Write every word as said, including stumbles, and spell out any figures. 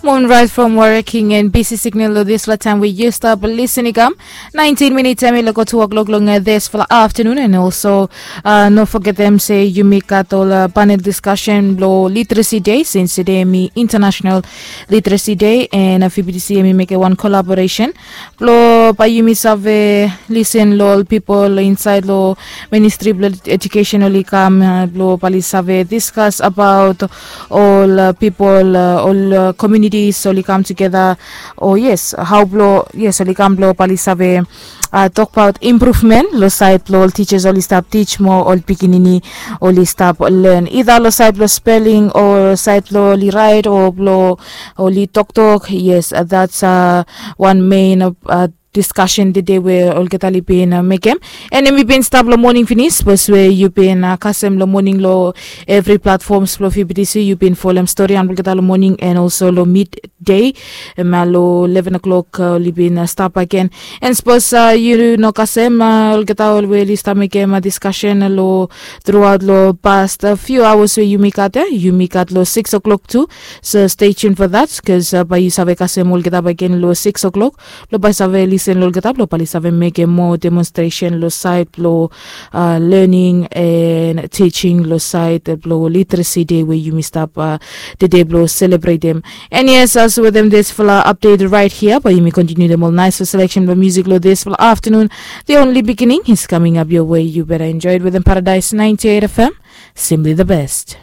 Moonrise from Warwick King and B C Signal lo dispela taim we yu stap lisin i kam. Nineteen minutes em i loko two o'clock long dispela afternoon, and also uh, no forgetem se yumi gat ol uh, panel discussion lo literacy day, since today mi international literacy day, and uh, F B T C em i make one collaboration blo bai yumi save listen lo ol people inside lo ministry blo education oli kam uh, blo bali save discuss about ol uh, people uh, ol uh, communities oli kam together. Oh yes, how blo yes oli kam blo bali save uh, talk about improvement lo side blo ol teachers oli stap teach mo ol pikinini oli stap learn either lo side blo spelling o side blo oli write o blo oli toktok. Yes, uh, that's uh, one main uh, discussion today we olgeta oli bin uh, mekem. And mi bin stap lo morning finis bos we yu bin uh, kasem lo morning lo every platforms blo F B T C yu bin folem story an olgeta lo morning and also lo midday. Em uh, lo eleven o'clock uh, oli bin uh, stap again. And suppose uh, you no kasem uh, olgeta ol we oli stap mekem uh, discussion uh, lo throughout lo past uh, few hours we yumi gat uh, yumi gat lo six o'clock too. So stay tuned for that, because uh, bai yu save kasem olgeta bagen lo six o'clock lo bai save listen lo olgeta blo bai save mekem more demonstration lo side blo uh, learning and teaching lo side blo literacy day we yumi stap uh, today blo celebrate them. And yes, as with them this fella update right here, but yumi continue them all nice for selection of music lo this fella afternoon. The only beginning is coming up your way. You better enjoy it with them Paradise ninety-eight F M. Simply the best.